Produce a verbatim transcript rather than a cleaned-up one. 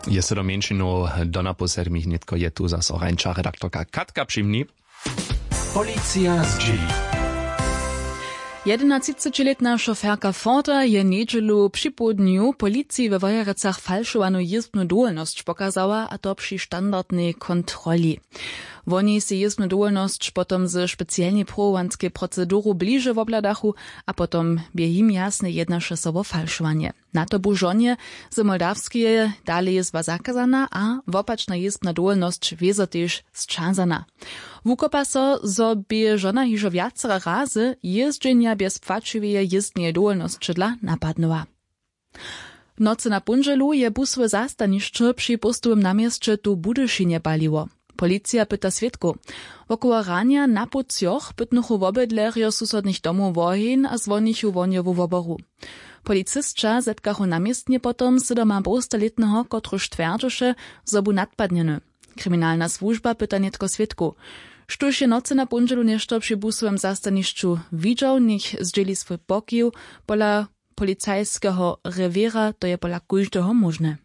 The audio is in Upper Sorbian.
Je so do mjeńšinow do napoł sedmich nětko je tu zaso rańša redaktorka Katka Přimni. Policija zdźěli. Jedenatřicećilětna šoferka forda je njedźelu připołdnju policiji we wojerecach falšowanu jězbnu dowolnosć pokazała, a to při standardnej kontroli. Woni sej jězbnu dowolnosć potom ze specialnej pruwowanskej proceduru bliže wobhladachu, a potom bě jim jasne jednaše so wo falšowanje. Na to bu žonje z moldawskeje dale jězba zakazana a wopačna jězbna dowolnosć wězo tež sćazana. Wukopa so, zo bě žona hižo wjacere razy jězdźenja bjez płaćiweje jězbneje dowolnosće dla napadnyła. W nocy na póndźelu je busowe zastanišće při póstowym na měsće tu w budyšinje paliło. Policija pyta swědkow. Wokoło ranja na poł třoch pytnychu wobydlerjo susodnych domow woheń a zwonichu wohnjowu woboru. Policisća zetkachu na městnje potom sydomapołstalětneho, kotryž twjerdźeše, zo bu nadpadnjeny. Kriminalna słužba pyta nětko swědkow. Štóž je nocy na póndźelu něšto při busowym zastanišću widźał, njech zdźěli swój pokiw. Pola policajskeho rewěra to je pola kóždeho móžne.